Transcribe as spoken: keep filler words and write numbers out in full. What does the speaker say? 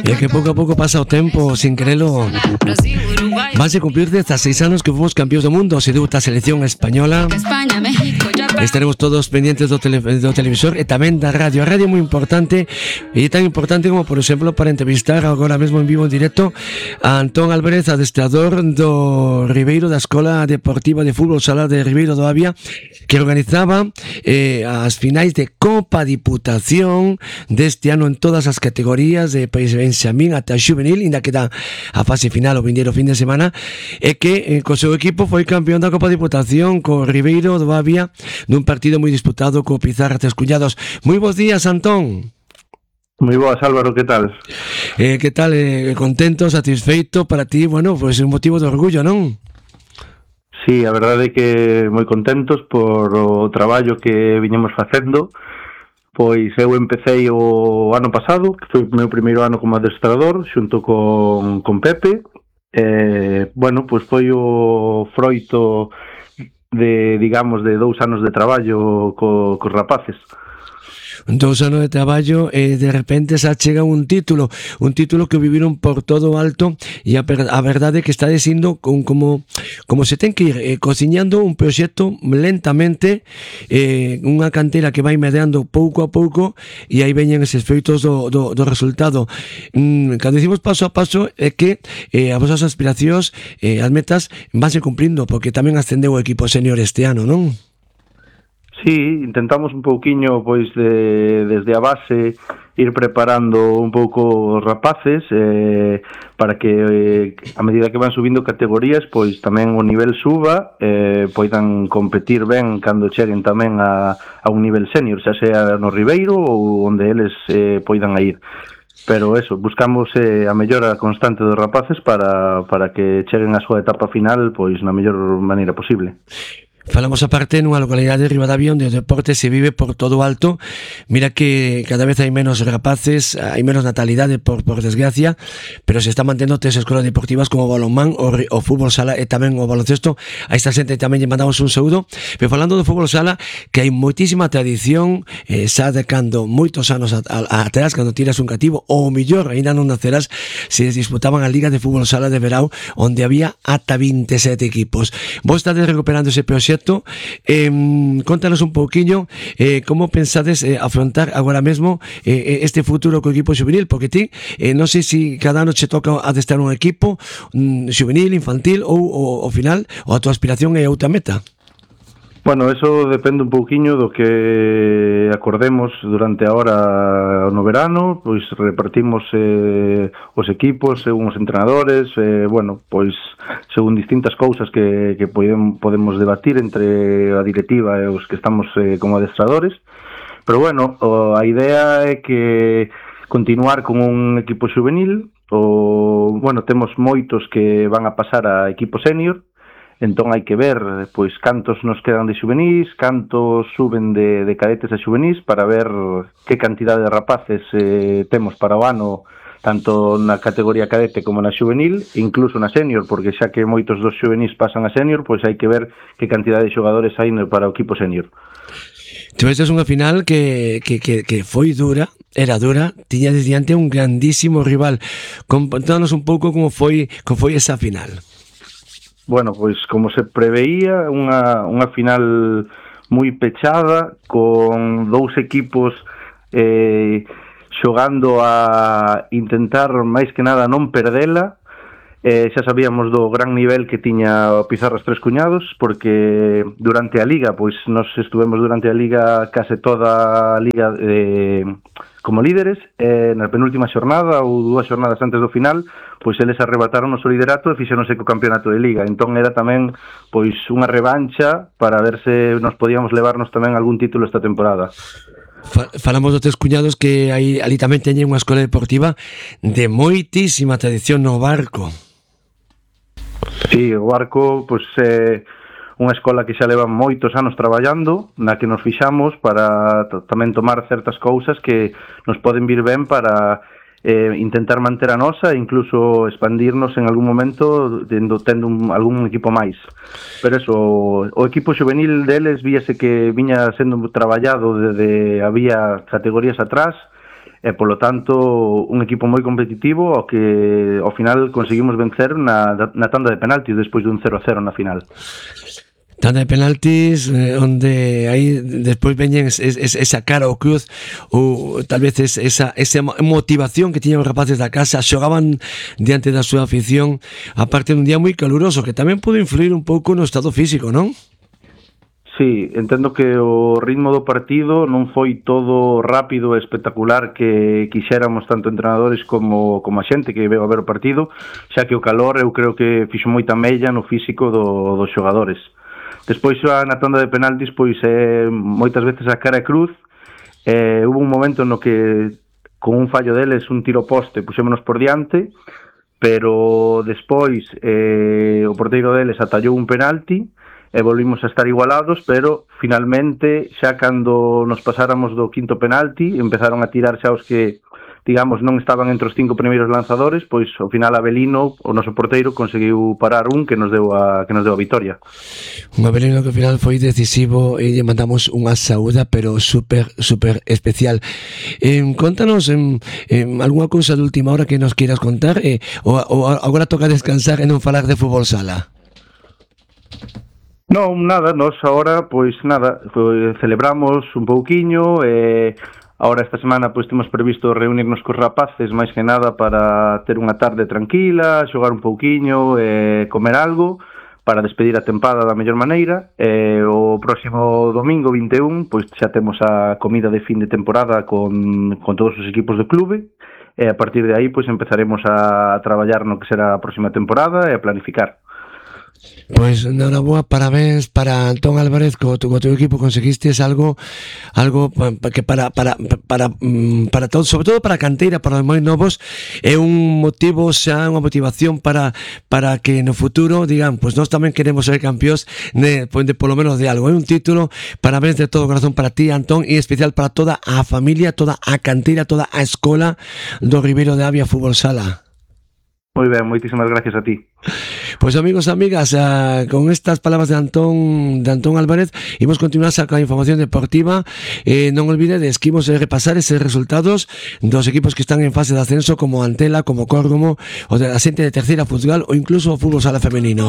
E que pouco a pouco pasa o tempo, sin querelo. Vanse cumplir dezasseis anos que fomos campeóns do mundo. Se debuta a selección española. Estaremos todos pendientes do, tele, do televisor e tamén da radio. A radio é moi importante, e tan importante como, por exemplo, para entrevistar agora mesmo en vivo en directo a Antón Álvarez, adestrador do Ribeiro, da Escola Deportiva de Fútbol Sala de Ribeiro do Avia, que organizaba eh, as finais de Copa Diputación deste ano en todas as categorías de Benxamín ata Xuvenil, inda que dá a fase final o vindeiro fin de semana, e que eh, co seu equipo foi campeón da Copa Diputación co Ribeiro do Avia nun partido moi disputado co Pizarra Tres Cuñados. Moi bons días, Antón. Moi boas, Álvaro, que tal? Eh, que tal, eh, contento, satisfeito para ti, bueno, pois pues, un motivo de orgullo, non? Sí, a verdade é que moi contentos por o traballo que viñemos facendo. Pois eu empecé o ano pasado, que foi o meu primeiro ano como adestrador, xunto con, con Pepe. Eh, bueno, pois foi o froito de, digamos, de dous anos de traballo co, cos rapaces. Dous anos de traballo e de repente xa chega un título, un título que viviron por todo alto, e a, a verdade é que está dicindo con, como, como se ten que ir eh, cociñando un proxecto lentamente, eh, unha cantera que vai medrando pouco a pouco, e aí veñen eses feitos do, do, do resultado. Mm, cando dicimos paso a paso é que eh, as vosas aspiracións, eh, as metas vanse cumprindo, porque tamén ascendeu o equipo senior este ano, non? Sí, intentamos un pouquiño, pois, de, desde a base, ir preparando un pouco os rapaces, eh, para que, eh, a medida que van subindo categorías, pois tamén o nivel suba, eh, poidan competir ben cando cheguen tamén a, a un nivel senior, xa sea no Ribeiro ou onde eles eh, poidan a ir. Pero eso, buscamos eh, a mellora constante dos rapaces para, para que cheguen a súa etapa final, pois, na mellor maneira posible. Falamos aparte nunha localidade de Ribadavia onde o deporte se vive por todo alto. Mira que cada vez hai menos rapaces, hai menos natalidade por, por desgracia, pero se está mantendo tres escolas deportivas como o balonmán, o, o fútbol sala e tamén o baloncesto. A esta xente tamén lle mandamos un saúdo. Pero falando do fútbol sala, que hai moitísima tradición, eh, xa de cando moitos anos atrás, cando tiras un cativo, ou mellor, ainda non nacerás, se disputaban a Liga de Fútbol Sala de Verao, onde había ata veintisiete equipos. Vos estades recuperando ese proxecto. Eh, contanos un pouquiño eh, como pensades eh, afrontar agora mesmo eh, este futuro co equipo xuvenil, porque ti eh, non sei se cada ano che toca adestrar un equipo mm, xuvenil, infantil ou ao final ou a tua aspiración é outra meta. Bueno, eso depende un pouquiño do que acordemos durante a hora no verano, pois repartimos eh, os equipos, según os entrenadores, eh, bueno, pois según distintas cousas que, que podemos, podemos debatir entre a directiva e os que estamos eh, como adestradores, pero bueno, o, a idea é que continuar con un equipo juvenil, o, bueno, temos moitos que van a pasar a equipo senior. Entón hai que ver, pois, cantos nos quedan de xuvenís, cantos suben de, de cadetes a xuvenís, para ver que cantidade de rapaces eh, temos para o ano, tanto na categoría cadete como na xuvenil, incluso na senior, porque xa que moitos dos xuvenís pasan a senior, pois hai que ver que cantidade de xogadores hai para o equipo senior. Tivestes unha final que, que, que, que foi dura, era dura, tiñades diante un grandísimo rival. Contanos un pouco como foi, como foi esa final. Bueno, pois como se preveía, unha, unha final moi pechada, con dous equipos eh, xogando a intentar máis que nada non perdela. Eh, xa sabíamos do gran nivel que tiña o Pizarras Tres Cuñados, porque durante a Liga, pois nos estuvemos durante a Liga case toda a Liga eh, como líderes, eh, na penúltima xornada ou dúas xornadas antes do final, pois eles arrebataron o liderato e fixéronse co campeonato de Liga. Entón era tamén pois unha revancha para ver se nos podíamos levarnos tamén algún título esta temporada. Falamos dos Tres Cuñados, que aí, ali tamén teñen unha escola deportiva de moitísima tradición no Barco. Sí, o Barco, pois, é unha escola que xa leva moitos anos traballando, na que nos fixamos para tamén tomar certas cousas que nos poden vir ben para eh, intentar manter a nosa e incluso expandirnos en algún momento tendo, tendo un, algún equipo máis. Pero eso, o equipo juvenil deles víase que viña sendo traballado desde había categorías atrás, e polo tanto un equipo moi competitivo ao que ao final conseguimos vencer na, na tanda de penaltis despois dun cero a cero na final. Tanda de penaltis eh, onde aí despois veñen es, es, esa cara ao cruz ou tal vez es, esa, esa motivación que tiñan os rapaces da casa, xogaban diante da súa afición, aparte dun día moi caluroso que tamén pudo influir un pouco no estado físico, non? Sí, entendo que o ritmo do partido non foi todo rápido e espectacular que quixéramos tanto entrenadores como, como a xente que veo a ver o partido, xa que o calor eu creo que fixo moita mella no físico do, dos xogadores. Despois na tanda de penaltis, pois eh, moitas veces a cara e cruz, eh, hubo un momento no que con un fallo deles, un tiro poste, puxémonos por diante, pero despois eh, o porteiro deles atallou un penalti, e volvimos a estar igualados, pero finalmente xa cando nos pasáramos do quinto penalti empezaron a tirar xa os que digamos non estaban entre os cinco primeiros lanzadores, pois ao final Avelino, o noso porteiro, conseguiu parar un que nos deu a que nos deu a vitoria. Un Avelino que ao final foi decisivo e lle mandamos unha saúda pero super super especial. Eh, contanos en, en algunha cousa de última hora que nos queiras contar eh, ou, ou agora toca descansar e non falar de fútbol sala. Non, nada, nós agora, pois nada, celebramos un pouquiño, e agora esta semana pois temos previsto reunirnos cos rapaces máis que nada para ter unha tarde tranquila, xogar un pouquiño, e comer algo, para despedir a tempada da mellor maneira, e o próximo domingo vinte e un, pois xa temos a comida de fin de temporada con, con todos os equipos do clube, e a partir de aí pois empezaremos a traballar no que será a próxima temporada e a planificar. Pois enhoraboa, parabéns para Antón Álvarez, co teu, co teu equipo conseguistes algo algo que para para para para todo, sobre todo para a canteira, para os moi novos, é un motivo, xa unha motivación para para que no futuro digan, pois nós tamén queremos ser campións de, de polo menos de algo, é un título. Parabéns de todo corazón para ti, Antón, e especial para toda a familia, toda a canteira, toda a escola do Ribeiro de Avia Fútbol Sala. Moi ben, moitísimas gracias a ti. Pois pues, amigos, amigas, uh, con estas palabras de Antón de Antón Álvarez, imos continuar con a información deportiva. Eh, non olvidedes que imos repasar eses resultados dos equipos que están en fase de ascenso, como Antela, como Córgomo, o de la xente de terceira Futsal ou incluso o fútbol sala femenino.